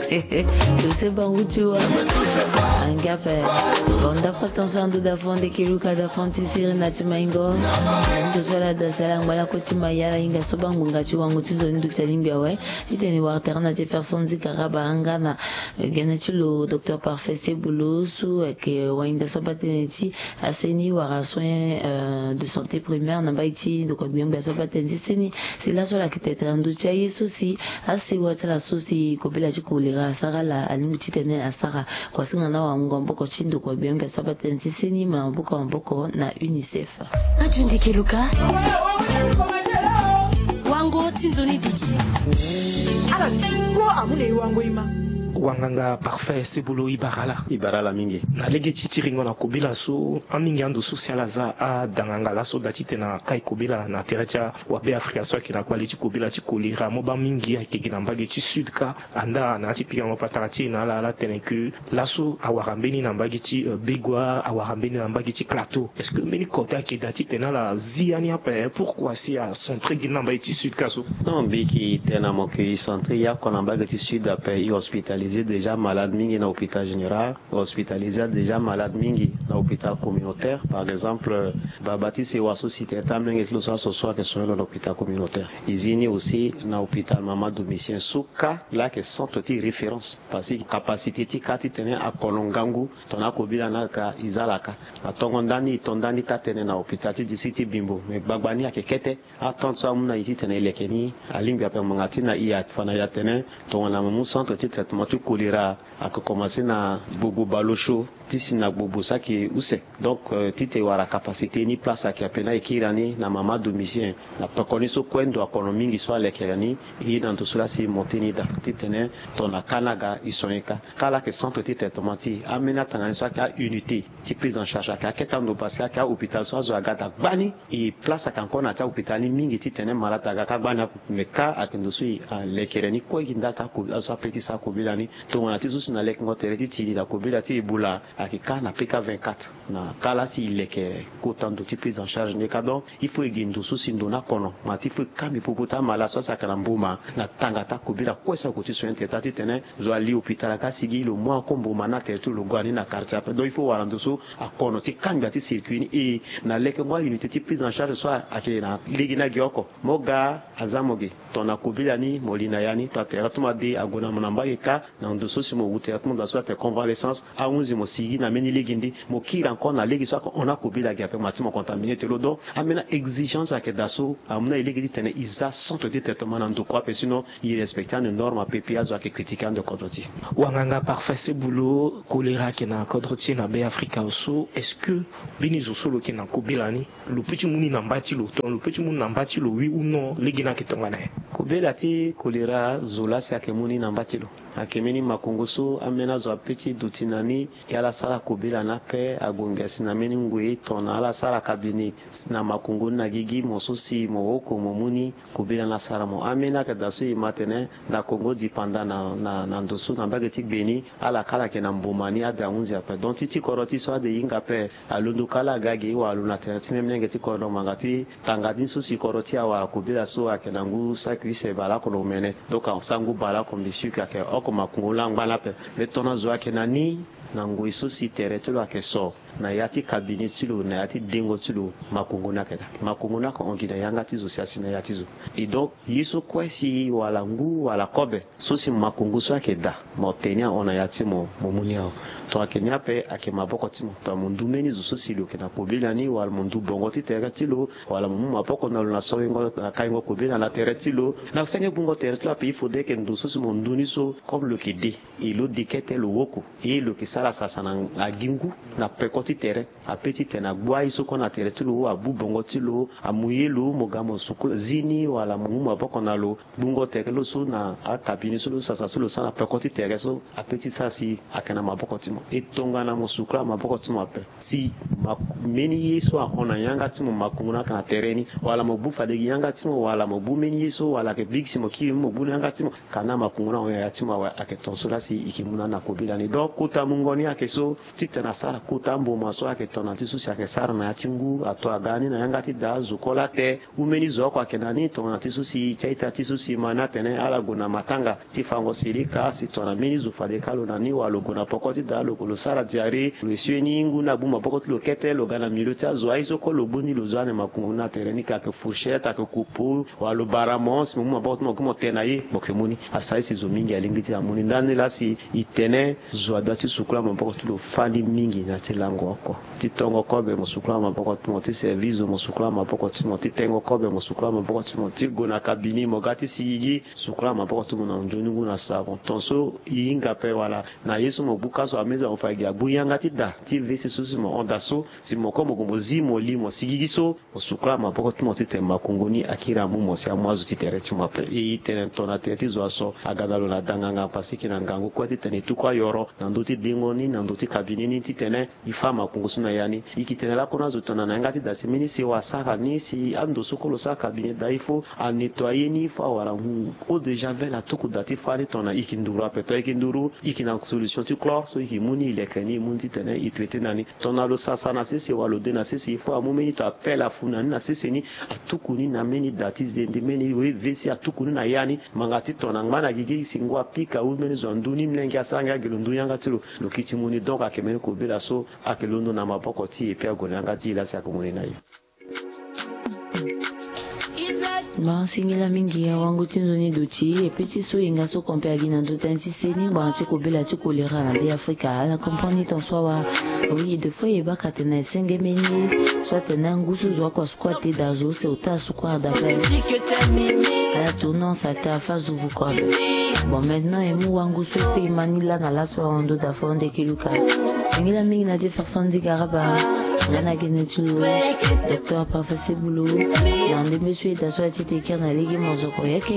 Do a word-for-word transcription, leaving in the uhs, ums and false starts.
Dossier bangu ti wa. Angia pe. Bon, dafa tonso ando dafa onde keluka dafa onti siri na ti maingo. Ando so ala da sala ngba lako ti ma yala hinga so bangbanga ti wango ti nzoni ndo ti alingbi awe. Titene wara tere na ti fer so nzi kara baranga na gene ti lo docteur Parfait Sebulu so ayeke wainda so aba tënë ti aseni wara soin de santé primaire na mbage ti ndokua gbengbe so aba tënë ti seni. Si laso ala yeke tene tene na ndö ti aye so si asewa ti ala so si kobela ti kolera asara ala alingbi titene asara kuasinga na wango maboko ti ndokua gbengbe so aba tënë ti seni ma maboko maboko na unicef. Radio Ndeke Luka. Wango ti nzoni duti. Ala duti kpo amu na e wango e ma. Wanganga Parfait Sebulu, e bara ala. E bara ala mingi. Na lege ti tiringo na kobela so, amingi ando so si ala za adanganga laso da titene akai kobela na tere ti awabe Afrika so ayeke na kpale ti kobela ti kolera, mo baa mingi ayeke gi na mbage ti sud kâ. Anda na ya ti pikango patara ti e na ala, ala tene ke laso awara mbeni na mbage ti, euh, Begoua, awara mbeni na mbage ti Plateau. Est-ce que mbeni kota ayeke daa titene ala zi ya ni ape? Pourquoi si acentre gi na mbage ti sud kâ so? Non, mbi yeke tene na mo ke e centre ya oko na mbage ti sud ape. E hospitalisé déjà malade mingi na hôpital général, e hospitalisé déjà malade mingi na hôpital communautaire. Par exemple, baba ti sewa so si tene ti amolenge ti lo so aso so ayeke soigné lo na hôpital communautaire. E zi ni aussi na hôpital mama Domitien so kâ, laa ayeke centre ti référence. Parce que capacité ti kâ titene akono ngangu tongana akobela ni aka, e za ala kâ. Atongo ndani, e to ndani taa-tënë na hôpital ti district ti Bimbo. Mais gbagba ni ayeke kete. Atente so amu na e titene e leke ni alingbi ape ngbanga ti na e afa na e atene tongana mo mu centre ti traitement ti choléra ayeke commencé na gbogbo baleosio ti si na gbogbo so ayeke use. Donc, euh, titene e wara capacité ni, place ayeke ape, na e kiri ani na mama Domitien na pekoni so kue ndo akono mingi so alekere ni. E ye na ndo so laa si mo teni daa titene tongana kâ ni aga e soigné kâ. Kâ laa ayeke centre ti traitement ti e. Ambeni atanga ni so ayeke a-unité ti prise en charge ayeke akete ando parce que ayeke ahôpital so azo aga daa gbani. E place ayeke encore na ya ti ahôpital ni mingi titene malade aga kâ gbani ape. Mais kâ ayeke ndo so e, alekere ni kue gi ndali ti ako, azo ape ti sara kobela ni. Tongana ti zo si na lekengo tere ti tiri na kobela ti Ebola ayeke kâ na P K vingt-quatre. Na kâ laa si e leke kota ndo ti prise en charge ni kâ. Donc, il faut e gi ndo so si ndo ni akono. Ma ti faut e kambi popo ti amalade so asi ayeke na mboma na tanga ti akobela kue so ague ti soigné tere taa titene zo ali hôpital aga asi gi lo mu ako mboma ni na tere ti lo, lo gue ani na quartier ape. Donc, il faut wara ndo so akono ti kangbi ya ti circuit ni. E na lekengo a-unité ti prise en charge so ayeke na lege ni agi oko. Mo ga aza mo ge tongana kobela ni mo li na ya ni, tongana tere ti mo ade ague na mo na mbage kâ, na ndo so si mo wu tere ti mo daa so atene convalescence, ahunzi mo sigi na mbeni lege nde mo kiri encore na lege so ayeke hon akobela ge ape, ma ti mo contaminé ti lo. Donc, ambeni a-exigence ayeke daa so amu na e lege titene e za centre ti traitement na ndokua ape, sinon e respecté ande norme ape, puis azo ayeke critiqué ande kodro ti e. Wanganga Parfait Sebulu, choléra ayeke na kodro ti e na Be Afrika so, est-ce que mbeni zo so lo yeke na kobela ni, lo peut ti mu ni na mba ti lo, tongana lo peut ti mu ni na mba ti lo, oui ou non, lege ni ayeke tongana nyen? Kobela ti choléra, zo laa si ayeke mu ni na mba ti lo. Ayeke mbeni makongo so ambeni azo apeut ti duti na ni, e ala sara kobela ni ape, ague ngia si na mbeni ngoi tongana ala sara cabinet na makongo ni na gigi, mo so si mo oko mo mu ni, kobela ni asara mo. Ambeni ayeke daa so e ma atene na Congo dipanda na, na, na ndo so na mbage ti gbe ni, ala kâ ala yeke na mboma ni, ade ahunzi ape. Donc ti ti kodro ti e so ade e hinga ape, alondo kâ laa aga ge, e wara lo na tere ti même lenge ti kodro ngbanga ti tanga ni so si kodro ti e awara kobela so ayeke na ngu saki use baleoko na omene. Donc asango baleoko mbi sûr que ayeke oko makongo laa angba ni ape. Mais tongana zo ayeke na ni na ngoi so si tere ti lo ayeke so na ya ti cabinet ti lo, na ya ti dengo ti lo, makongo ni ayeke daa. Makongo ni ayeke hon gi na yanga ti zo si asi na ya ti zo. Et donc ye so kue si wala ngu wala kobe so si makongo so ayeke daa, mo te ni ahon na ya ti mo, mo mu ni awe. Tongana ayeke ni ape, ayeke maboko ti mo. Tongana mo ndu mbeni zo so si lo yeke na kobela ni, wala mo ndu bongo ti tere ti lo, wala mo mu maboko na lo na soingo, na kaingo kobela na tere ti lo, na senge gbungo tere ti lo ape, il faudrait que ndo so si mo ndu ni so, comme lo yeke de, e lo de kete lo woko, e lo yeke sara sasa na agi ngu na peko ti tere. Apeut ti tene agbu aye so kue na tere ti lo, abu bongo ti lo, amu ye lo, mo ga mo sukula zi ni, wala mo mu maboko na lo, gbungo tere lo so na akabini so lo sasa so lo sara na peko ti tere so, apeut ti sara si ayeke na maboko ti mo. E tongana mo sukula maboko ti mo ape, si ma, mbeni ye so ahon na yanga ti mo, makongo ni ayeke na tere ni, wala mo bu fade gi yanga ti mo, wala mo bu mbeni ye so, wala ayeke bigi si mo kiri mo bu na yanga ti mo, kana makongo ni ahon na ya ti mo awe, ayeke ton so laa si e yeke mu na ni na kobela ni. Donc kota mungo Ni ayeke so titene asara kota mboma so ayeke tongana ti so si ayeke sara na ya ti ngu ato aga ni na yanga ti da azo kue late. Hu mbeni zo oko ayeke na ni tongana ti so si e ti a-ita ti so si e ma ni atene ala gue na matanga ti fango sirika si tongana mbeni zo fade kâ lo na ni wala lo gue na poko ti da lo gue lo sara diarrhée lo esue ni ngu ni agbu maboko ti lo kete lo ga na milieu ti azo aye so kue lo gbu ni lo zo ane makungu ni atene ni ka ayeke fourchette ayeke coupeau wala lo bara mo si mo mu maboko ti mo gue mo te na ye mo yeke mu ni. Asara ye si zo mingi alingbi ti amu ni ndani laa si e tene zo adoit ti sukula maboko ti lo fani mingi na ya ti lango oko. Ti tongo kobe mo sukula maboko ti mo, ti service zo mo sukula maboko ti mo, ti tengo kobe mo sukula maboko ti mo, ti gue na kabini mo ga ti sigigi sukula maboko ti mo na nzoni ngu na savon ton so e hinga ape wala na ye so mo gbu ka so amezi mo fa gi agbu yanga ti da ti vesi so si mo hon da so si mo kue mo gue mo zi mo li mo sigigi so mo sukula maboko ti mo titene makungu ni akiri amu mo si amu azo ti tere ti mo ape. E tene tongana tere ti zo aso aga na lo na danganga pasiki na ngangu kue titene e tuku ayoro na ndö ti dengo ni na ndö ti kabini ni titene e fa makungu so na ya ni. E yeke tene lakue na azo tongana na yanga ti da si mbeni sewa asara ni si ando so kue lo sara kabini da il faut anettoyer ni il faut awara ngu eau de javel atuku da ti fa ni tongana e yeke nduru ape to e yeke nduru e yeke na solution ti chlore so e yeke mu ni e leke ni e mu ni titene e traiter na ni. Tongana lo sasa na sese wala lo de na sese il faut amu mbeni to apele afu na ni na sese ni atuku ni na mbeni da ti zende mbeni we vesi atuku ni na ya ni. Manga ti tongana ngba na gigi si ngu apika ou mbeni zo andu ni mlenge asara ngia gi lo ndu yanga ti lo lo kiti mu ni donc ayeke mbeni kobela so ayeke londo na maboko ti e pe ague na yanga ti e laa si ayeke mu ni na e. Mba singila mingi awango ti nzoni duti e pe ti so e nga so kompe agi na ndö tënë ti seni ngbanga ti kobela ti kolera na be afrika ala comprendre ni ton so awa. Oui de fois e baka tene esenge mbeni ye so atene angu so zo akua sukua te da zo ose ota sukua da pe. Ala tournon sa te afa zo vuku abe. Bon maintenant e mu wangu so e pe e ma ni laa na laso awa ndo da fo ande ki luka. Singila mingi na ti ferson di garaba. Nga na gene ti lo docteur parfait sebulo. Na ndembe so e da so ati te kere na lege mozoko ya.